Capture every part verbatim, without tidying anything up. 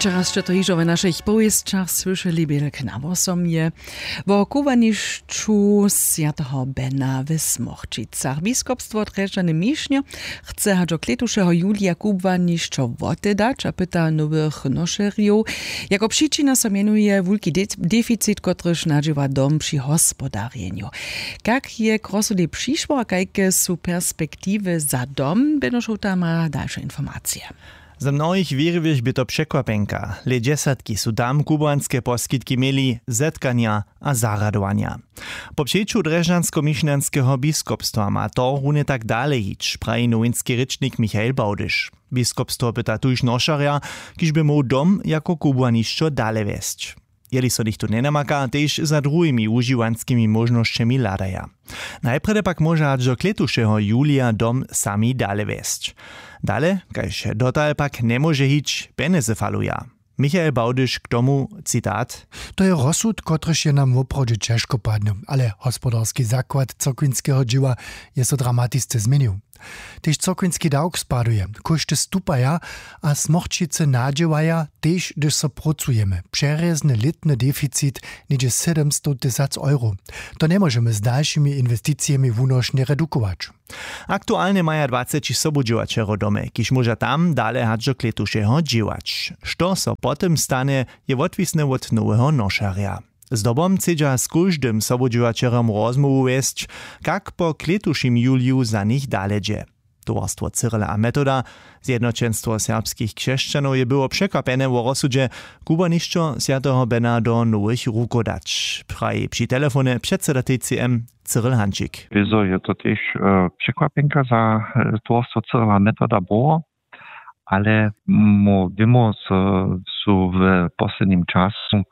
Wčera sće to hižo w našich powěsćach słyšeli, bědel k nawosomje. Wo kubłanišću swjateho Bena w Smorćicach biskopstwo drježdźane mišnjo chce hač do klětušeho julija kubłanišćo wotedać a pyta nowych nošerjow. Jako přičina so mjenuje wulki deficit, kotryž nadźěła dom při hospodarjenju. Kak je k rozsudej přišło a kajke su perspektiwy za dom? Benošowta ma dalše informacije. Za mnohich wěriwych bě to překwapenka. Lědźesatki su tam kubłanske poskitki měli, zetkanja a zarjadowanja. Po přeću drježdźansko-mišnjanskeho biskopstwa ma to runje tak dale hić, praji nowinski rěčnik Michael Bałdyš. Biskopstwo pyta tuž nošerja, kiž by móhł dom jako kubłanišćo dale wjesć. Jeli so něchtó njenamaka, tež za druhimi wužiwanskimi móžnosćemi hladaja. Najprjedy pak móža hač do klětušeho julija dom sami dale wjesć. Dale, kaž dotal, pak njemóže hić, pjenjezy faluja. Michael Bałdyš k tomu, citat: To je rozsud, kotryž je nam woprawdźe ćežko padnył, ale hospodarski zakład cyrkwinskeho dźěła je so dramatisce změnił. Tež cyrkwinski dawk spaduje, kóšty stupaja a smorćicy nadźěłaja, tež hdyž so prócujemy, přerjezny lětny deficit něhdźe sydomstow tysac euro. To njemóžemy z dalšimi inwesticijemi wunošnje redukować. Aktualnje maja dwaceći sobudźěłaćerjow w domje, kiž móža tam dale hač do klětušeho dźěłać. Što so po tym stanje, je wotwisne wot noweho nošerja. Zdobom chcedźa z kóždym sobudźěłaćerjom rozmołwu wjesć, kak po klětušim juliju za nich dale dźe. Towarstwo Cyrila a Metoda, Zjednoćenstwo serbskich křesćanow, je było překwapjene wo rozsudźe, kubłanišćo swjateho Bena do nowych rukow dać, praji při telefonje předseda T C M Cyril Hančik. Wězo je to tež překwapjenka za towarstwo Cyrila a Metoda było, ale wěmo, zo su w poslednim času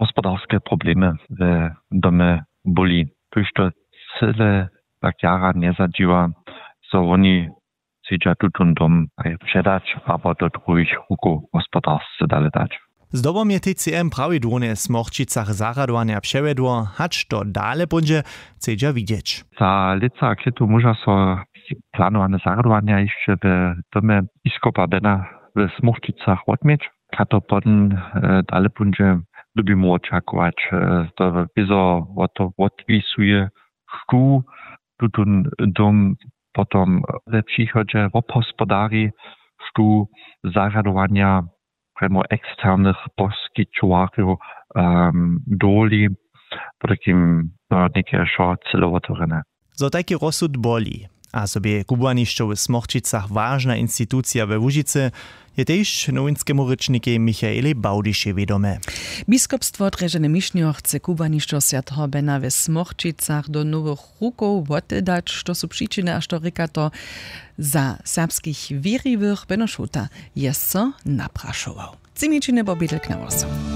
hospodarske problemy w domje byli, tuž to cyle tak jara njezadźiwa, zo woni chcedźa tutón dom předać abo do druhich rukow hospodarsce dale dać. Zdobom je T C M prawidłownje w Smorćicach zarjadowanja přewjedło, hač to dale póńdźe, chcedźa widźeć. Za lětsa a klětu móža so planowane zarjadowanja hišće w domje biskopa Bena w Smorćicach wotměć. Kaž to potom dale póńdźe, dyrbimy wočakować, to wězo wot to wotwisuje, štó tutón dom potom we přichodźe wobhospodari, štó zarjadowanja prjemo eksternych poskićowarjow dowoli, potajkim to něke wšo cyle wotewrjene. Zo tajki rozsud boli a zo bě kubłanišćo w Smorćicach wažna institucija we Łužicy, je tež nowinskemu rěčnikej Michaelej Bałdyšej wědome. Biskopstwo drježdźane mišnjo chce kubłanišćo swjateho Bena we Smorćicach do nowych rukow wotedać. Što su přičiny a što rěka to za serbskich wěriwych, Beno Šuta je so naprašował. Třimičiny po bědel k nawosomje.